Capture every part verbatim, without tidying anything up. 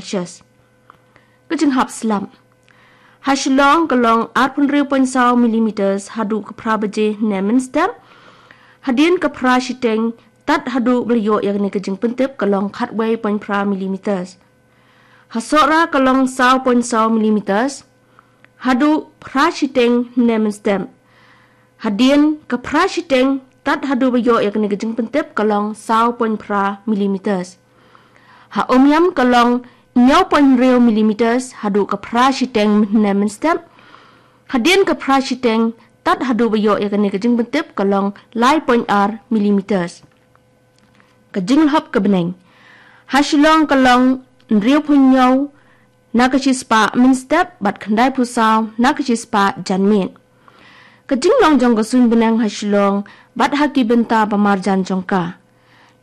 Celsius. Ka jinghap slap. Ha Shillong ka long arphew hynriew point saw millimeters haduh ka phra baje hynne mynstep. Hadien ka phra shiteng tad haduh ba la ïoh ïa kane ka jingpyntip ka long khatwei point phra millimeters. Ha Sohra ka long saw point saw millimeters haduh phra shiteng hynne mynstep. Hadien ka phra shiteng tad haduh ba ïoh ïa kane ka jingpyntip ka long saw point phra millimeters. Ha Umiam ka long hynñiew point hynriew millimeters haduh ka phra shiteng hynne mynstep. Hadien ka phra shiteng tad haduh ba ïoh ïa kane ka jingpyntip ka long lai point ar millimeters. Ka jinglhap ka bneng. Ha Shillong ka long hynriewphew hynñiew na ka shispah mynstep bad khyndaiphew saw na ka shispah janmiet. Ka jinglong jong ka suiñ bneng ha Shillong bad ha ki bynta ba marjan jong ka.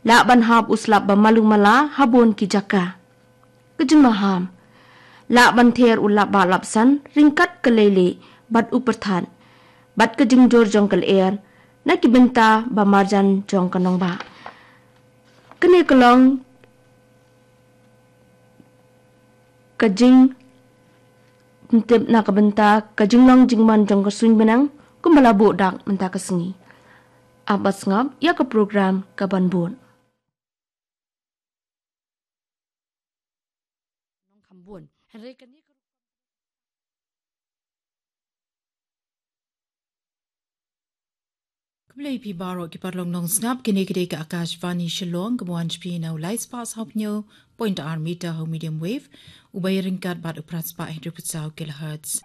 Lah ban hap u slap ba malu mala ha bun ki jaka. Ka jingmaham. Lah ban ther u lap ba lap san ryngkat ka leilieh bad u pyrthat bad ka jingjur jong ka lyer na ki bynta ba marjan jong ka nongbah. Kane ka long ka jingpyntip na ka bynta ka jinglong jingman jong ka suiñ bneng kumba la buh dak mynta ka sngi. Ap ba sngap ïa ka program ka ban bud. Nongkham bun. Hynrei kane ka Khublei phi baroh ki paralok nongsngap, kine ki dei ka Akashvani Shillong, ka ban wan sha phi na u lai spah saw phew point ar meter ha u medium wave, u bai ryngkat bad u phra spah hynriew phew saw kilohertz.